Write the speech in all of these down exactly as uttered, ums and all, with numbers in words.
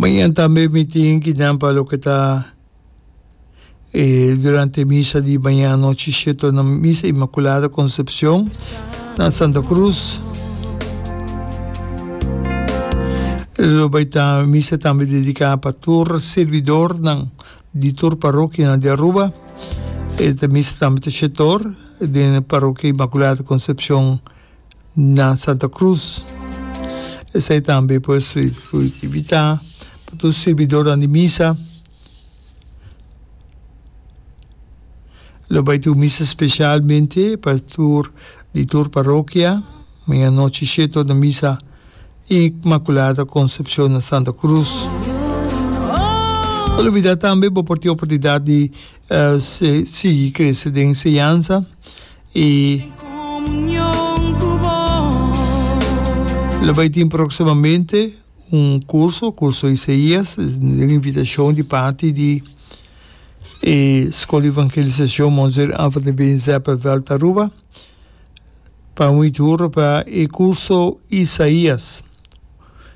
Mañan tambe mi tin kinan pa loke ta e durante misa di mañan anochi shete na Misa Inmaculada Concepcion na Santa Cruz. Lo bai ta misa tambe dedica pa tur servidornan di tur parokianan di Aruba. Esta misa tambe ta shete or den Parokia Inmaculada Concepcion na Santa Cruz. Esei tambe pues invita pa tur servidornan di misa. Lo bai tin un misa specialmente pa tur di tur parokia. Mañana anochi shete or na misa Inmaculada Concepcion na Santa Cruz. No olbida tambe bo por tin oportunidad di sigui crece den enseñansa y lo bai tin proximamente un curso, curso Isaías, den invitacion di parti di e School di Evangelisacion Monseñor Alfred de Been Zeppelveld Aruba pa un ituro pa e curso Isaías.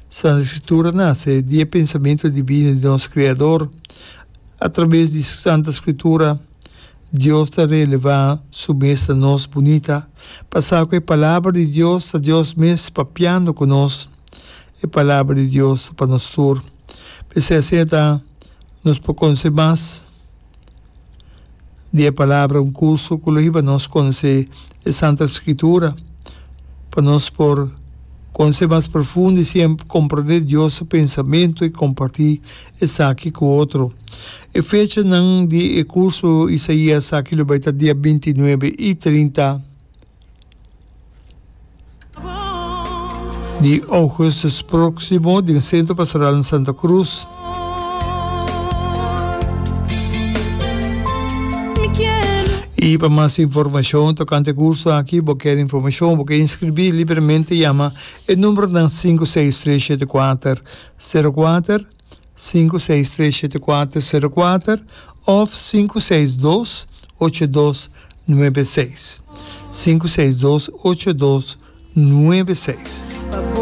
Santa Escritura nace di e pensamento divino di nos Creador. A traves di Santa Scritura, Dios ta relevá Su mes na nos bunita. Pa sa cu e Palabra di Dios ta Dios mes papiando cu nos. E Palabra di Dios ta pa nos tur. P'esei asina ta nos por conoce mas di e Palabra, un curso cu lo hiba nos conoce e Santa Scritura, pa nos por conoce mas profundo y siña comprende Dios su pensamento y comparti esaki ku otro. E fechanan di e kurso Isaías aki lo bai ta dia binti nuebe i trinta di ougùstùs próksimo den Sentro Pastoral na Santa Cruz. I pa mas informashon tokante e kurso aki, bo kier informashon, bo ke inskribí, libremente yama e numbernan sinku seis tres shete kuater sero kuater, sinku seis tres shete kuater sero kuater òf sinku seis dos ocho dos nuebe seis, sinku seis dos ocho dos nuebe seis.